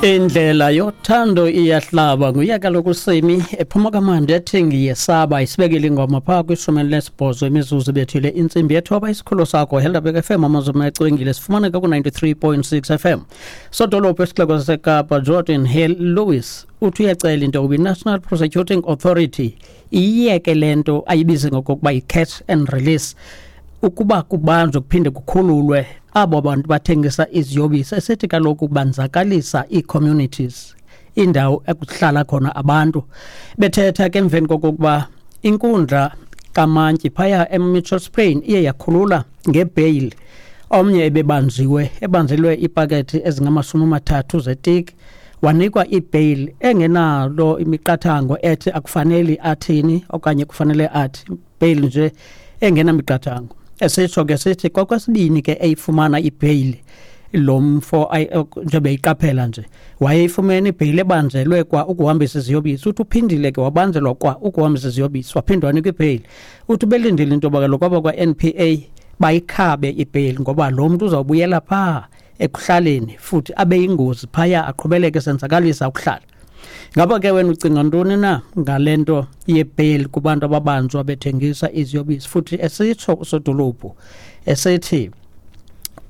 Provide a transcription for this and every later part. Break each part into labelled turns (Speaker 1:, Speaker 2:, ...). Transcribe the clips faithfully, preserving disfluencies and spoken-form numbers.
Speaker 1: Indlela yothando iyahlaba. Nguye kaloku uSimi ephuma kamandi ethi "Ngiyesaba". Isibekile ingoma phaa kwishumi elinesibhozo imizuzu bethile intsimbi yethoba. Isikhululo sakho Helderberg F M, amazwi acwengile. Sifumaneka ku-ninety-three point six F M. Sodolophu esixeko saseKapa Geordin Hill Lewis uthi uyacela into yokuba i-National Prosecuting Authority iyeke le nto ayibize ngokokuba yi-catch and release, ukuba kubanjwe kuphinde kukhululwe abo bantu bathengisa iziyobisi, esithi kaloku banzakalisa ii-communities, indawo ekuhlala khona abantu. Bethetha ke emveni kokokuba inkundla kamantyi phaya eMitchells Plain iye yakhulula ngebheyili omnye ebebanjiwe, ebanjelwe iipakethi ezingamashumi amathathu zetiki, wanikwa ibheyili engenalo imiqathango ethi akufaneli athini okanye kufanele athi, bheyili nje engenamiqathango. Esitsho ke sithi kokwesibini ke eyifumana ibheyili lo mfo, njengoba eyiqaphela nje wayeyifumene ibheyili ebanjelwe kwa ukuhambisa iziyobisi. Uthi uphindile ke wabanjelwa kwa ukuhambisa iziyobisi, waphinde wanikwa ibheyili. Uthi belindile into yoba kaloku abakwa-N P A bayikhabe ibheyili, ngoba lo mntu uzawubuyela phaa ekuhlaleni futhi abe yingozi phaya, aqhubeleke esenzakalisa ukuhlala. Ngaba ke wena ucinga ntoni na ngale nto yebheyili kubantu ababanjwa bethengisa iziyobisi, futhi esitsho usodolophu esithi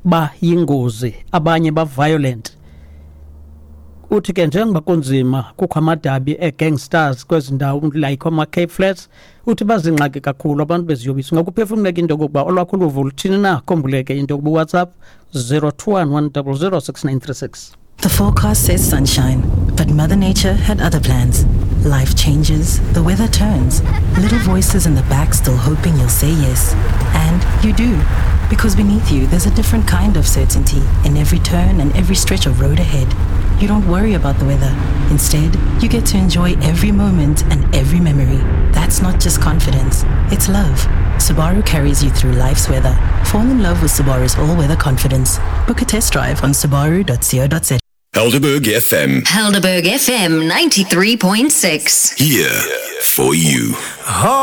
Speaker 1: bayingozi, abanye ba-violent? Uthi ke njengoba kunzima, kukho amadabi ee-gangsters kwezi ndawo like ama-Cape Flats, uthi bazingxaki kakhulu abantu beziyobisi. Ungakuphefumleka into yokokuba olwakho uluvo luthini na? Khumbuleke into yokuba uWhatsApp zero two one one zero zero six nine three six.
Speaker 2: The forecast says sunshine, but Mother Nature had other plans. Life changes, the weather turns, little voices in the back still hoping you'll say yes. And you do. Because beneath you, there's a different kind of certainty in every turn and every stretch of road ahead. You don't worry about the weather. Instead, you get to enjoy every moment and every memory. That's not just confidence, it's love. Subaru carries you through life's weather. Fall in love with Subaru's all-weather confidence. Book a test drive on subaru dot co dot za.
Speaker 3: Helderberg F M.
Speaker 4: Helderberg F M ninety-three point six.
Speaker 3: Here for you.
Speaker 5: Oh.